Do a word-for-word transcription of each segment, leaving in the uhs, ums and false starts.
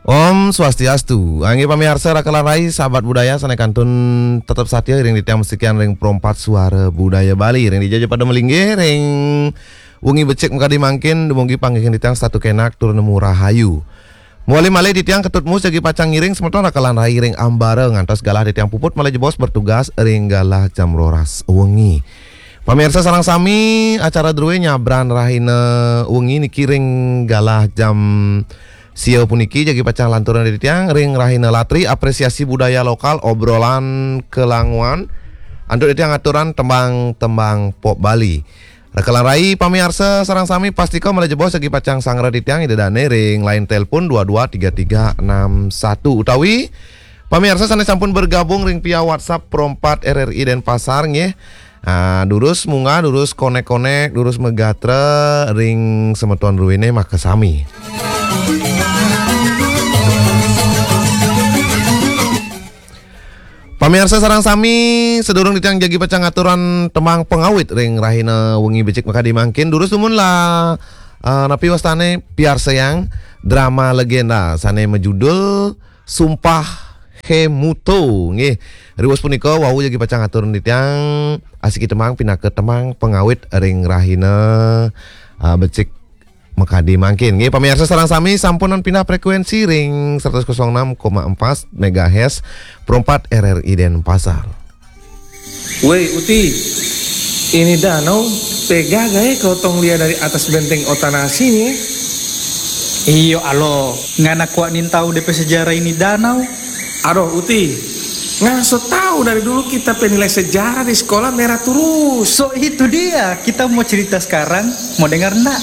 Om Swastiastu. Inggih pamiarsa Raka lan Rai, sahabat budaya sané kantun tetep satia ring titiang masikian ring Pro empat Suara Budaya Bali. Ring dija ja pada malinggih ring wengi becik makadi mangkin, dumugi panggihin titiang setata kénak tur nemu rahayu. Mawali malih titiang Ketut Mus jagi pacang ngiring semeton Raka lan Rai ring ambara ngantos galah titiang puput malih jebos bertugas ring galah jam roras wengi. Pamiarsa sareng sami, acara druwé nyabran rahina wengi niki ring galah jam sia puniki jagi pacang lanturang titiang ring rahina latri apresiasi budaya lokal, obrolan kelanguan, antuk titiang aturan tembang-tembang pop Bali. Raka lan Rai pamiarsa sareng sami, pastika malih jebos jagi pacang sangra titiang ida dané ring line telepon dua dua tiga tiga enam satu utawi pamiarsa sané sampun bergabung ring via WhatsApp Pro empat R R I Denpasar nggih. Ah, durus munggah, durus konek-konek, durus magatra ring semeton druéné makasami. Pamiarsa sareng sami, sadurung titiang jagi pacang ngaturan tembang pangawit ring rahina wengi becik makadi mangkin, durus dumun lah, eh, napi wastané piarsayang drama legenda sané majudul Sumpah Hémuto. Nggih, riwus punika wau jagi pacang atur titiang asiki tembang pinaka tembang pangawit ring rahina, eh, becik makadi mangkin. Nggih, pamiarsa sareng sami, sampunang pindah frekuensi ring seratus kosong enam koma empat megahertz Pro empat R R I Denpasar. Woi, Uti, ini danau pega gaé kotong lihat dari atas benteng Otanasi nih. Iyo, alo, ngana kuat nintau D P sejarah ini danau. Aduh, Uti, ngana so tahu dari dulu kita penilai sejarah di sekolah merah terus. So, itu dia, kita mau cerita sekarang, mau dengar ndak?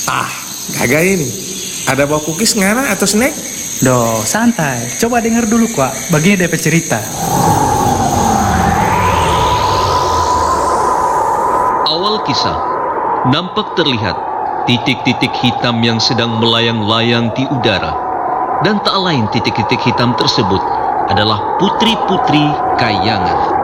Ah, gaga ini. Ada bawa cookies ngana atau snack? Doh, santai. Coba dengar dulu, Kuak. Begini D P cerita. Awal kisah, nampak terlihat titik-titik hitam yang sedang melayang-layang di udara. Dan tak lain titik-titik hitam tersebut adalah putri-putri kayangan.